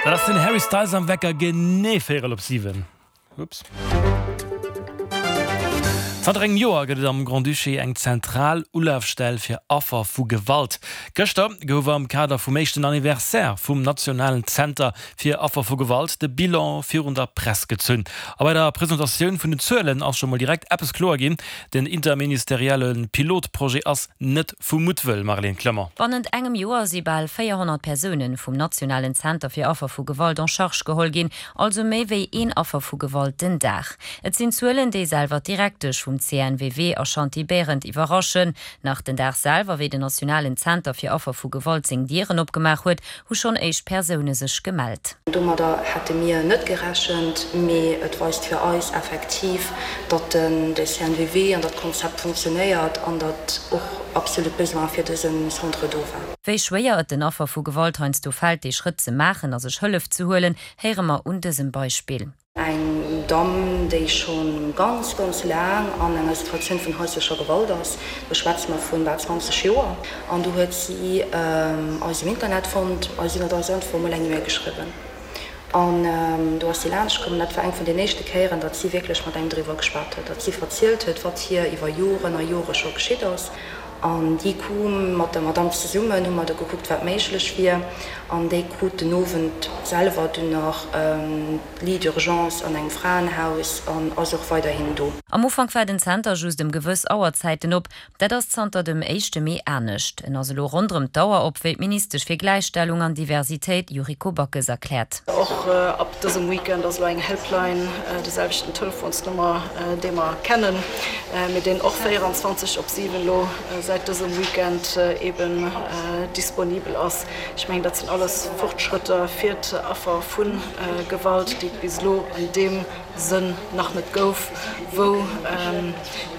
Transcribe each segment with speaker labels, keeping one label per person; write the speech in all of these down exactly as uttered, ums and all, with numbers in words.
Speaker 1: Dat ass den Harry Styles am Wecker genee véierel op siwen. Ups. Zanter engem Joer gëtt et am Grand-Duché eng zentral Ulafstell fir Affer vu Gewalt. Gëschter gouf am Kader vum éischten Anniversaire vum nationalen Zenter fir Affer vu Gewalt de Bilan virun der Press gezunn. A bei der Presentatioun vun den Zuelen ass scho mol direkt eppes kloer ginn, Den interministerielle Pilotprojet ass net vu Muttwëll, Marlène Clement.
Speaker 2: Bannent engem Joer si bal véierhonnert Persoune vum nationalen Zenter fir Affer vu Gewalt en charge geholl ginn, also méi wéi een Affer vu Gewalt den Dag. Et sinn Zuelen, déi selwer d'Direktesch vum C N W W Ashanti Berend iwwerraschen. Nach den Dag selwer, wéi den nationalen Zenter fir Affer vu Gewalt seng Dieren opgemaach huet, hu schonn éischt Persoune sech gemellt.
Speaker 3: Domadder hätte mir net gerechent, mee et weist fir eis effektiv, datt de C N W W an dat Konzept funktionéiert an datt och absolut Besoin fir dëse Centre do war.
Speaker 2: Wéi schwéier et den Affer vu Gewalt heiansdo fält, dee Schrëtt ze maachen a sech Hëllef ze huelen, héiere mer un dësem Beispill.
Speaker 3: Eng Damm, déi scho ganz, ganz laang an enger Situatioun vun haislecher Gewalt ass, do schwätze mer vun bal zwanzeg Joer, an do huet si eis um Internet fonnt a si huet eis einfach emol eng E-Mail geschriwwen an do ass si laanscht komm. Dat war eng vun den éischte Kéieren, datt si wierklech mat engem driwwer geschwat huet, datt si verzielt huet, wat hir iwwer Joren a Jore scho geschitt ass. An déi koum mat der Madamm zesummen, hu mer da gekuckt, wat méiglech wier. An déi krut den Owend selwer dunn nach Lit d'urgence an engem Fraenhaus an ass och weiderhin do.
Speaker 2: Am Ufank war den Zenter just ëm gewëss Auerzäiten op. Dat ass zanter dem éischte Mee anescht. En ass elo ronderëm d'Auer op, wéi d'Ministesch fir Gläichstellung an Diversitéit Yuriko Backes erkläert.
Speaker 4: Och ab dësem Weekend ass elo eng Helpline, déi selwechten Telefonsnummer, déi mer kennen, mee deen och véieranzwanzeg op siwen elo säit dësem Weekend eben disponibel ass. Ech mengen, dat sinn alles Fortschrëtter fir d'Affer vu Gewalt, déi et bis elo an deem Sënn nach net gouf, wou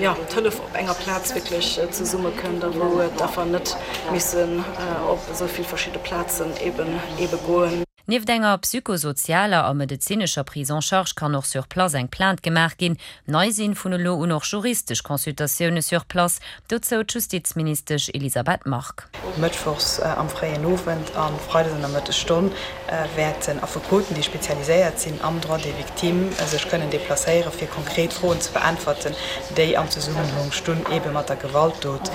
Speaker 4: jo d'Hëllef op enger Plaz wierklech zesummekënnt a wou d'Affer net missen op esou vill verschidde Plazen eben ebe goen.
Speaker 2: Nieft enger psychosozialer a medezinescher Prise en charge kann och sur place eng Plainte gemaach ginn. Nei sinn vun elo un och juristesch Consultatioune sur place, dozou d'Justizministesch Elisabeth Margue.
Speaker 5: Mëttwochs am fréien Owend a freides an der Mëttesstonn wäerten Affekoten, déi spezialiséiert sinn am Droit des victimes, sech kënnen deplacéiere fir konkret Froen ze beäntwerten, déi am Zesummenhang stunn eebe mat der Gewaltdot.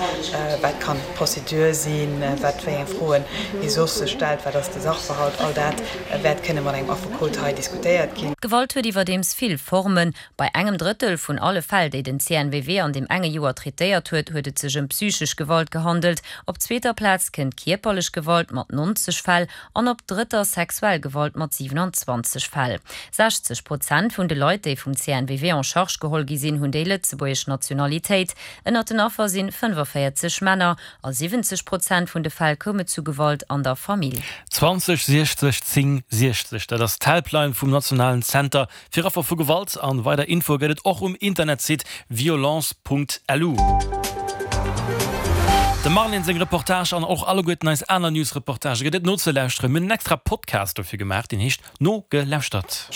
Speaker 5: Wat kann d'Procédure sinn, wat wéi eng Froen ee soss sech stellt, wat ass de Sachverhalt, all dat wäert kënne mat engem Affekot hei diskutéiert ginn.
Speaker 2: Gewalt huet iwwerdeems vill Formen. Bei engem Drëttel vun alle Fäll, déi den C N W W an deem enge Joer traitéiert huet, huet et sech ëm psychesch Gewalt gehandelt. Op zweeter Plaz kënnt kierperlech Gewalt mat nonzeg Fäll an op drëtter sexuell Gewalt mat siwenanzwanzeg Fäll. sechzeg Prozent vun de Leit, déi vum C N W W en charge geholl gi sinn, hunn déi lëtzebuergesch Nationalitéit. Ënnert den Affer si fënnefaféierzeg Männer. A siwwenzeg Prozent vun de Fäll koum et zu Gewalt an der Famill.
Speaker 1: zwanzeg siechzeg zéng siechzeg, dat ass d'Helpline vum nationalen Zenter fir Affer vu Gewalt an weider Infoe gëtt et och um Internetsite violence Punkt lu. Dem Marlène seng Reportage an och alleguerten eis aner News-Reportagë gëtt et nozelauschteren. Mir hunn en extra Podcast dofir gemaach, deen heescht Nogelauschtert.